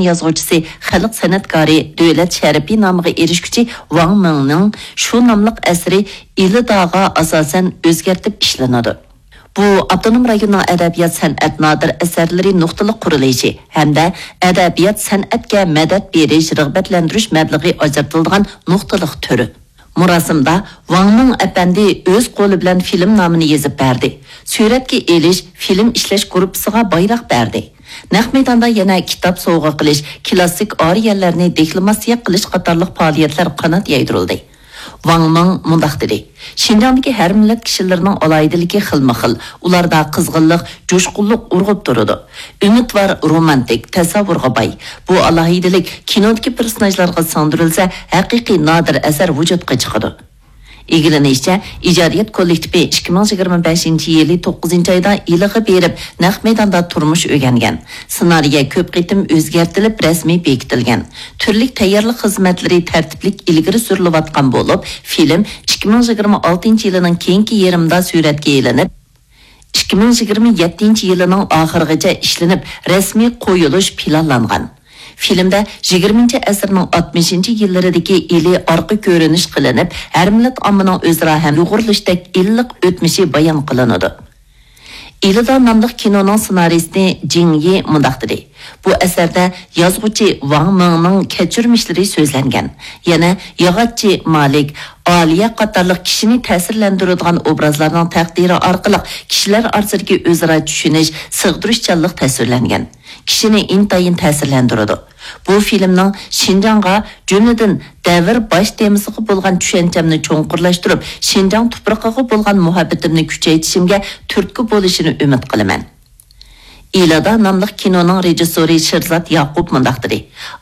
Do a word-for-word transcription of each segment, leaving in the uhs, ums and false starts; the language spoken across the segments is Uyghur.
يازغۇچىسى، خەلق سەنئەتكارى، دۆلەت شەرىپى نامىغا ئېرىشكۈچى ۋاڭ مىڭنىڭ شۇ ناملىق ئەسىرى ئىلىداغا ئاساسەن ئۆزگەرتىپ ئىشلىنىدۇ. بۇ ئاپتونوم رايوننىڭ ئەدەبىيات-سەنئەت نادىر ئەسەرلىرى نۇقتىلىق قۇرۇلۇشى ھەمدە ئەدەبىيات-سەنئەتكە مەدەت بېرىش، رىغبەتلەندۈرۈش مەبلىغى ئاجرىتىلىدىغان نۇقتىلىق تۈرى. مۇراسىمدا ۋاڭ مىڭ ئەپەندى ئۆز قولى بىلەن فىلىم نامىنى يېزىپ بەردى. سۈرەتكە ئېلىش، فىلىم ئىشلەش گۇرۇپپىسىغا بايراق بەردى. نەق مەيداندا يەنە كىتاب سوۋغا قىلىش، كىلاسسىك ئارىيەلەرنى دېكلاماتسىيە قىلىش قاتارلىق پائالىيەتلەر قانات يايدۇرۇلدى. ۋاڭ مىڭ مۇنداق دېدى: شىنجاڭدىكى ھەر مىللەت كىشىلىرىنىڭ ئالاھىدىلىكى خىلمۇ خىل، ئۇلاردا قىزغىنلىق، جۇشقۇنلۇق ئۇرغۇپ تۇرىدۇ. ئۈمىدۋار، رومانتىك، تەسەۋۋۇرغا باي. بۇ ئالاھىدىلىك كىنودىكى پېرسوناژلارغا سىڭدۈرۈلسە، ھەقىقىي نادىر ئەسەر ۋۇجۇدقا چىقىدۇ. ئىگىلىنىشىچە، ئىجادىيەت كوللېكتىپى ئىككى مىڭ يىگىرمە بەشىنچى يىلى توققۇزىنچى ئايدا ئىلىغا بېرىپ، نەق مەيداندا تۇرمۇش ئۆگەنگەن. سېنارىيە كۆپ قېتىم ئۆزگەرتىلىپ، رەسمىي بېكىتىلگەن. تۈرلۈك تەييارلىق خىزمەتلىرى تەرتىپلىك ئىلگىرى سۈرۈلۈۋاتقان بولۇپ، فىلىم ئىككى مىڭ يىگىرمە ئالتىنچى يىلىنىڭ كېيىنكى يېرىمىدا سۈرەتكە ئېلىنىپ، ئىككى مىڭ يىگىرمە يەتتىنچى يىلىنىڭ ئاخىرىغىچە ئىشلىنىپ، رەسمىي قويۇلۇش پىلانلانغان. فىلىمدە يىگىرمىنچى ئەسىرنىڭ ئاتمىشىنچى يىللىرىدىكى ئىلى ئارقا كۆرۈنۈش قىلىنىپ، ھەر مىللەت ئاممىنىڭ ئۆزئارا ھەمدۇغۇرلىشىشتەك ئىللىق ئۆتمۈشى بايان قىلىنىدۇ. ئىلىدا ناملىق كىنونىڭ سېنارىستى جىڭ يى مۇنداق دېدى: بۇ ئەسەردە يازغۇچى ۋاڭ مىڭنىڭ كەچۈرمىشلىرى سۆزلەنگەن. يەنە ياغاچچى مالىك، ئالىيە قاتارلىق كىشىنى تەسىرلەندۈرىدىغان ئوبرازلارنىڭ تەقدىرى ئارقىلىق كىشىلەر ئارىسىدىكى ئۆزئارا چۈشىنىش، سىغدۇرۇشچانلىق تەسۋىرلەنگەن. كىشىنى ئىنتايىن تەسىرلەندۈرىدۇ. بۇ فىلىمنىڭ شىنجاڭغا، جۈملىدىن دەۋر باش تېمىسىغا بولغان چۈشەنچەمنى چوڭقۇرلاشتۇرۇپ، شىنجاڭ تۇپرىقىغا بولغان مۇھەببىتىمنى كۈچەيتىشىمگە تۈرتكە بولۇشىنى ئۈمىد قىلىمەن. ئىلادا ناملىق كىنونىڭ رېژىسسورى شىرزات ياقۇپ مۇنداق دېدى: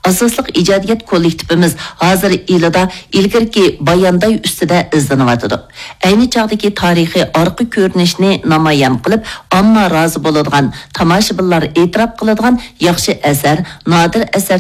ئاساسلىق ئىجادىيەت كوللېكتىپىمىز ھازىر ئىلادا ئىلگىرىكى بايانداي ئۈستىدە ئىزدىنىۋاتىدۇ. ئەينى چاغدىكى تارىخىي ئارقا كۆرۈنۈشنى نامايان قىلىپ، ئامما رازى بولىدىغان، تاماشىبىنلار ئېتىراپ قىلىدىغان ياخشى ئەسەر، نادىر ئەسەر